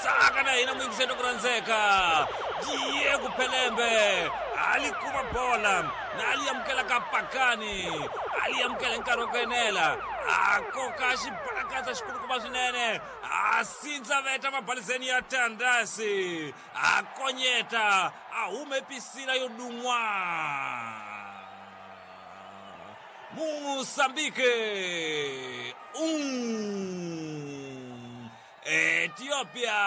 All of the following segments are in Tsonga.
Tsaka na hina muyingiseri ku rhandzeka. Diego Pelembe a li kuma bola na a li amukela ka pakani, a li amukela hi nkarhi wa ku enela, a koka xibalakatsa xikulukumba swinene, a sindza veta mabalizeni ya Tandasi, a konyeta, a hume pisila yo dun'wa. Moçambique 1, Ethiopia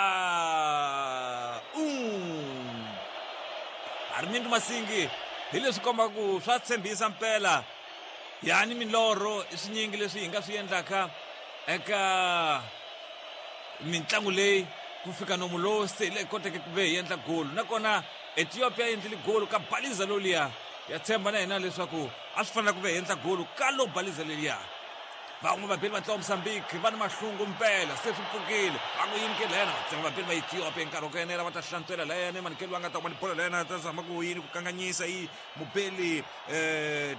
1. Armindo Masingi hi leswi kombaka ku swa tshembisa mpela yani milorho i swinyingi leswi hi nga swi endlaka eka mintlangu leyi ku fika nomu lowu se leyi koteke ku ve hi endla golu nakona Ethiopia yi endlile golu ka baliza loliya ya tshemba na hina leswaku a swi fanela ku ve hi endla golu ka lo baliza leliya. Van'we vabeli va ntlawa Mozambique va ni mahlungu mpela se swi pfukile va ku yini ke layana va tsema vabeli va Ethiopia nkarhi wa ku enela va ta hlantswela layana emanikelo va nga ta kuma ni bolo layana ta zama ku yini ku kanganyisa yi mubeli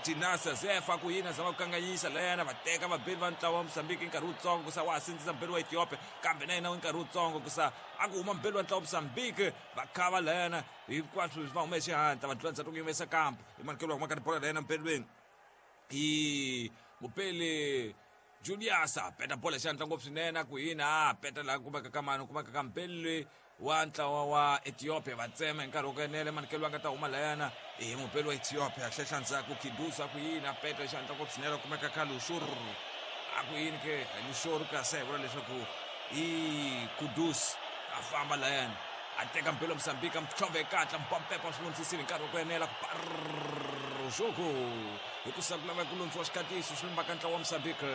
Tinasa Zefa ku yini a zama ku kanganyisa layana va teka vabeli va ntlawa wa Mozambique nkarhi wutsongo ku sa wa ha sindzisa mubeli wa Ethiopia kambe na yena nkarhi wutsongo ku sa a ku huma mubeli wa ntlawa wa Mozambique va khava layana hinkwaswo va hume xihatla va dlula ndzhaku ku yimesa kampo emanikelo wa kuma ka tibola layana mpelweni i mupeli Julius a peta bola xandla ngopfu swinene a ku yini a peta laha kumeka ka mani kumeka ka mpeli wa ntlawa wa Ethiopia va tsema hi nkarhi wa ku enela emanikelo va nga ta huma layana i mupeli wa Ethiopia hlehla ndzhaku Kidusa a ku yini a peta xandla ngopfu swinene kumeka ka Lushur a ku yini ke Lushur kasi a hi vula leswaku i Kudus a famba layana a teka mpelo Mozambique a mtlhove katla mpampepa swi vonisisile hi nkarhi wa ku enela ku parxoko hi ku sa ku lava ku lundziwa xikatiso xi lumbaka ntlawa wa Mozambique.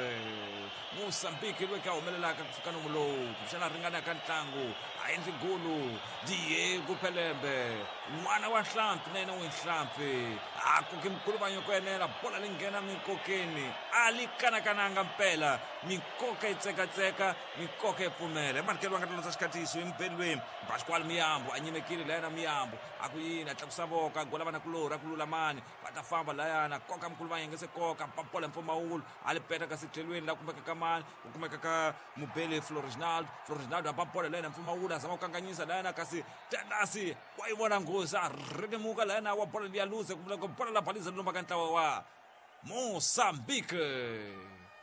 Mozambique loyi ka humelelaka ku fika nomu lowu kumbexana ringanaka ntlangu a endli golu Diego Pelembe n'wana wa nhlampfi na yena wu nhlampfi a koke mukuluvanyo ku enela bola leyi nghena minkokeni a li kanakananga mpela minkoka yi tsekatseka Mikoka yi pfumela. Emanikelo va nga ta landza xikatiso emubelweni. Pascual Miyambo a nyimekile layana Miyambo a ku yini a tlakusa voko a gola vanakulorhi a ku lulamani va ta famba layana koka mukulu va yengese koka papola mpfumawulo a li peta kasi tlhelweni la kumeka ka mani ku kumeka ka mubeli Floriginaldo Floriginaldo a ba bola layana mpfumawulo a zama ku kanganyisa layana kasi Tandasi wa yi vona nghozi a rhetemuka layana wa bola liya luze ku vula ku bola la baliza lumba ka ntlawa wa Mozambique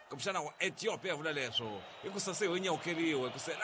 kumbexana wa Ethiopia vula leswo hikusa se ho nyawukeriwe ku se.